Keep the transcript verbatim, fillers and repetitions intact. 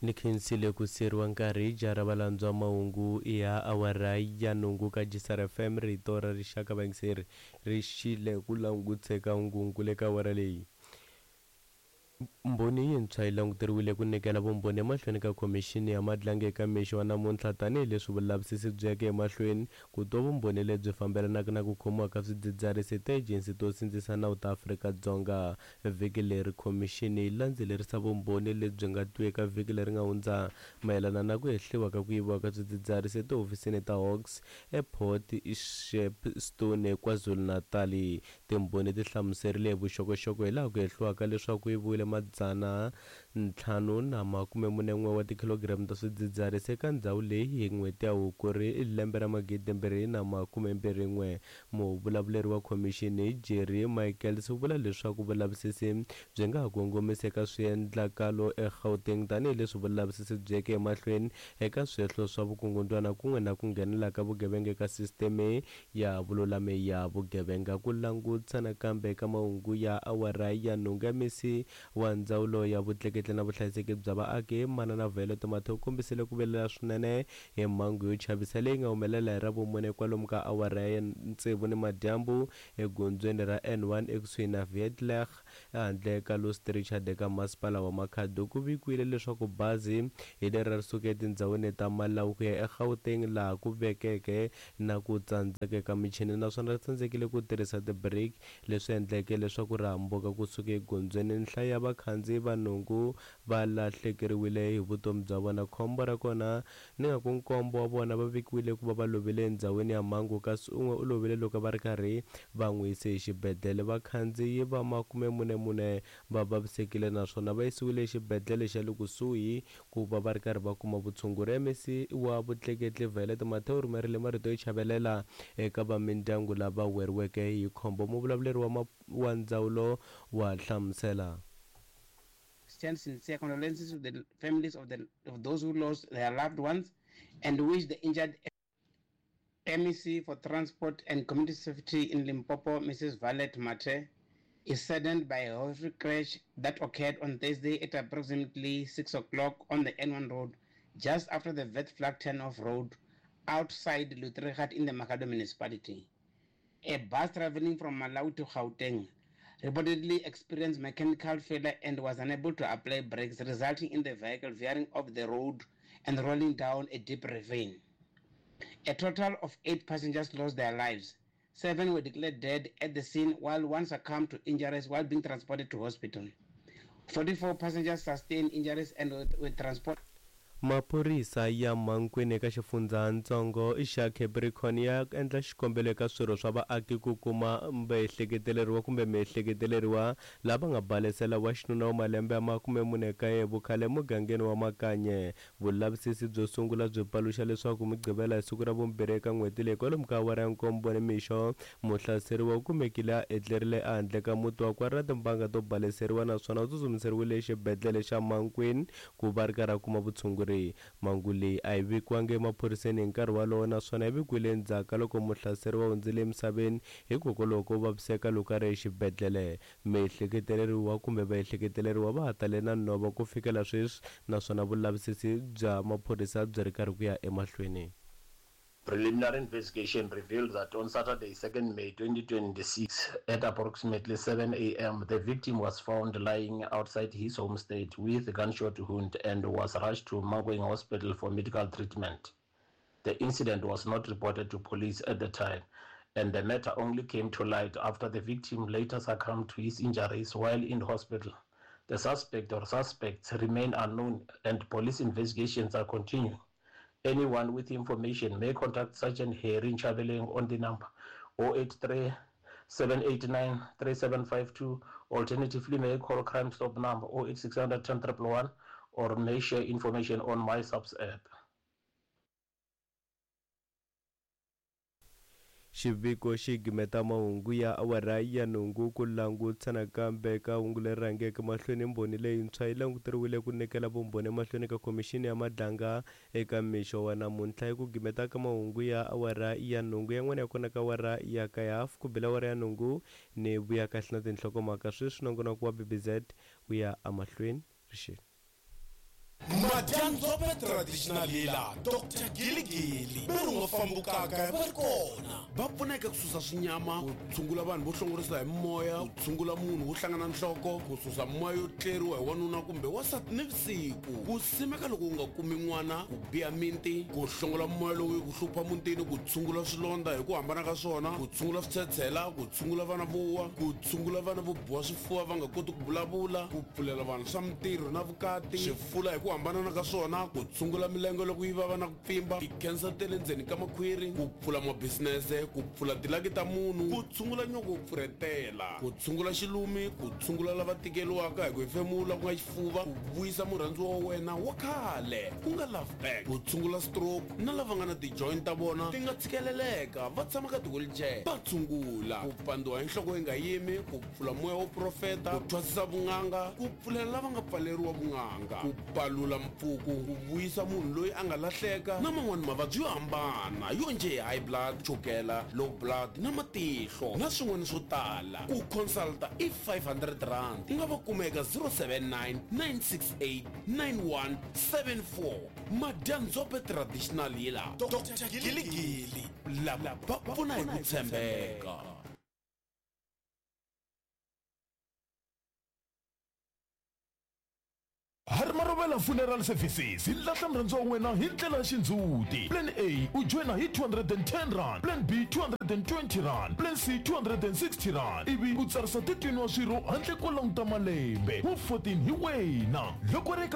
Ni khensile ku siyeriwa nkarhi jara valandzwa mahungu ya awara ya nhungu ka G S R F M, rito ra rixaka. Vayingiseri ri xile ku languteka hungungu le ka awara leyi. Mbhoni yintshwa yi languteriwile ku nyikela vumbhoni emahlweni ka khomixini ya Madlanga eka mixo wa namuntlha, tanihileswi vulavisisi byi yeke emahlweni ku twa vumbhoni lebyi fambelanaka na ku khomiwa ka swidzidziharisi hi tiejensi to sindzisa nawu ta Afrika-Dzonga vhiki leri. Khomixini yi landzelerisa vumbhoni lebyi nga twiwa eka vhiki leri nga hundza mayelana na ku hehliwa ka ku yiviwa ka swidzidziharisi etihofisini ta Hawks ePort Shepstone, KwaZulu-Natal. Timbhoni ti hlamuserile hi vuxokoxoko hi laha ku hehliwaka leswaku ku yiviwile madzana ntlhanu na makume mune n'we wa tikhilogiramu ta swidzidziharisi eka ndhawu leyi hi n'hweti ya Hukuri lembe ra magidi mbirhi na makume mbirhi n'we. Muvulavuleri wa khomixini Jerry Michaels u vula leswaku vulavisisi byi nga ha kongomisa eka swiendlakalo eGauteng, tanihileswi vulavisisi byi yeke emahlweni eka swihehlo swa vukungundzwana kun'we na ku nghenela ka vugevenga eka sisiteme ya vululami ya vugevenga. Ku langutisa nakambe eka mahungu ya awara ya nhungu ya misi wa ndzawulo ya vutleketli na vuhlayiseki bya vaaki, Manana Violet Mathe, u kombisile ku vilela swinene hi mhangu yo chavisa leyi nga humelela hi Ravumune kwalomu ka awara ya tsevu ni madyambu egondzweni ra N one ekusuhi na Vietlech, ehandle ka Louis Trichardt eka masipala wa Makhado. Ku vikiwile leswaku bazi hi leri ri suka etindhawini ta Malawi ku ya eGauteng laha ku vekeke na ku tsandzeka ka michini, naswona ri tsandzekile ku tirhisa ti-brake, leswi endleke leswaku ri hambuka kusuka egondzweni. Nhlayo ya vakhandziyi va nhungu va lahlekeriwile hi vutomi bya vona. Khombo ra kona ni nga ku nkombo wa vona va vikiwile ku va va lovile endhawini ya mhangu, kasi un'we u lovile loko va ri karhi va n'wi yise exibedhlele. Vakhandziyi va makume mune mune va vavisekile naswona va yisiwile exibedhlele xa le kusuhi ku va va ri karhi va kuma vutshunguri. M E C wa vutleketli Violet Mathe u rhumerile marito yo chavelela eka va mindyangu lava weriweke hi khombo. Muvulavuleri wa, wa ndzawulo wa hlamusela. Extend sincere condolences to the families of, the, of those who lost their loved ones and wish the injured. M E C for Transport and Community Safety in Limpopo, Missus Violet Mathe, is saddened by a horrific crash that occurred on Thursday at approximately six o'clock on the N one road, just after the Vet Flag turn-off road outside Lutregat in the Makhado municipality. A bus traveling from Malawi to Gauteng reportedly experienced mechanical failure and was unable to apply brakes, resulting in the vehicle veering off the road and rolling down a deep ravine. A total of eight passengers lost their lives. Seven were declared dead at the scene, while one succumbed to injuries while being transported to hospital. forty-four passengers sustained injuries and were, were transported. Maphorisa ya Mankweng eka xifundzatsongo xa Capricorn ya endla xikombelo eka swirho swa vaaki ku kuma vaehleketeleriwa kumbe miehleketeleriwa lava nga balesela wa xinuna wa malembe ya makume mune kaye vukhale emugangeni wa Makanye. Vulavisisi byo sungula byi paluxa leswaku Mugqivela hi siku ra vumbirhi eka n'hweti leyi, kwalomu ka awara ya nkombo nimixo, muhlaseriwa u kumekile a etlerile ehandle ka muti wakwe a ri na timbanga to baleseriwa, naswona u tsutsumiseriwile exibedhlele xa Mankweng ku va ri karhi a kuma vutshunguri. Mhangu leyi a yi vikiwangi emaphoriseni hi nkarhi wolowo, naswona yi vikiwile endzhaku ka loko muhlaseriwa hundzile emisaveni hikokwalaho ko vaviseka loko a ri exibedhlele. Miehleketeleriwa kumbe vaehleketeleriwa va ha tale na nhova ku fikela sweswi, naswona vulavisisi bya maphorisa byi ri karhi ku ya emahlweni. Preliminary investigation revealed that on Saturday, second May twenty twenty-six, at approximately seven a m, the victim was found lying outside his homestead with gunshot wound and was rushed to Mankweng Hospital for medical treatment. The incident was not reported to police at the time, and the matter only came to light after the victim later succumbed to his injuries while in hospital. The suspect or suspects remain unknown, and police investigations are continuing. Anyone with information may contact Sergeant Harry Nchabeleng on the number zero eight three seven eight nine three seven five two. Alternatively, may call Crime Stop number zero eight six hundred ten one one or may share information on My SAPS app. Xiviko xi gimeta mahungu ya awara ya nhungu. Ku langutisa nakambe ka hungu leri rhangeke mahlweni, mbhoni leyintshwa yi languteriwile ku nyikela vumbhoni emahlweni ka khomixini ya Madlanga eka mixo wa namuntlha. Hi ku gimeta ka mahungu ya awara ya nhungu, yan'wana ya kona ka awara ya kaye hafu ku bela awara ya nhungu ni vuya kahle na tinhlokomhaka. Sweswi nongonoko wa B B Z wu ya emahlweni rixini. Madyandzombe traditional healer Doctor Giligili ve ri nga fambukaka va ri kona va pfuneka ku susa swinyama, ku tshungula vanhu vo hlongorisa hi moya, ku tshungula munhu wo hlangana nhloko, ku susa moya yo tleriwa hi wanuna kumbe wansati nivusiku, ku simeka loko u nga kumi n'wana, ku biha minti, ku hlongola moya lowu ku hlupha mutini, ku tshungula swilondza hi ku hambana ka swona, ku tshungula switshetshela, ku tshungula vana vo wa, ku tshungula vana vo biwa swifuva va nga koti ku vulavula, ku pfulela vanhu swa mintirho na vukati, swifula hi ku hambanana ka swona, ku tshungula milenge loko yi vava na ku pfimba, ti-cancer ta le ndzeni ka makhwiri, ku pfula mabisinese, ku pfula tilaki ta munhu, ku tshungula nyoko wo pfurhetela, ku tshungula xilumi, ku tshungula lava tikeriwaka hi ku hefemula ku nga xifuva, ku vuyisa murhandziwa wa wena wa khale ku nga love back, ku tshungula stroke na lava nga na ti-joint ta vona ti nga tshikeleleka va tshama ka ti-wheelchair va tshungula, ku pandziwa hi nhloko yi nga yimi, ku pfula moya wo profeta, ku thwasisa vun'anga, ku pfulela lava nga pfaleriwa vun'anga, ku palula mpfuku, ku vuyisa munhu loyi a nga lahleka na man'wani mavabyi yo hambana yo njhe high blood, chukela, low blood na matihlo na swin'wana swo tala. Ku consulta i five hundred rand. U nga va kuma eka zero seven nine, nine six eight, nine one seven four. Madyandzombe traditional healer Doctor Giligili lava va pfuna hi ku tshembeka. Harimarovela Funeral Services hi lahla murhandziwa wa wena hi ndlela ya xindzhuti. Plan A u joyina hi two hundred and ten rand, Plan B two hundred and twenty rand, Plan C two hundred and sixty rand, ivi u tsarisa thirteen wa swirho handle ko languta malembe. Wu fourteen hi wena loko ri eka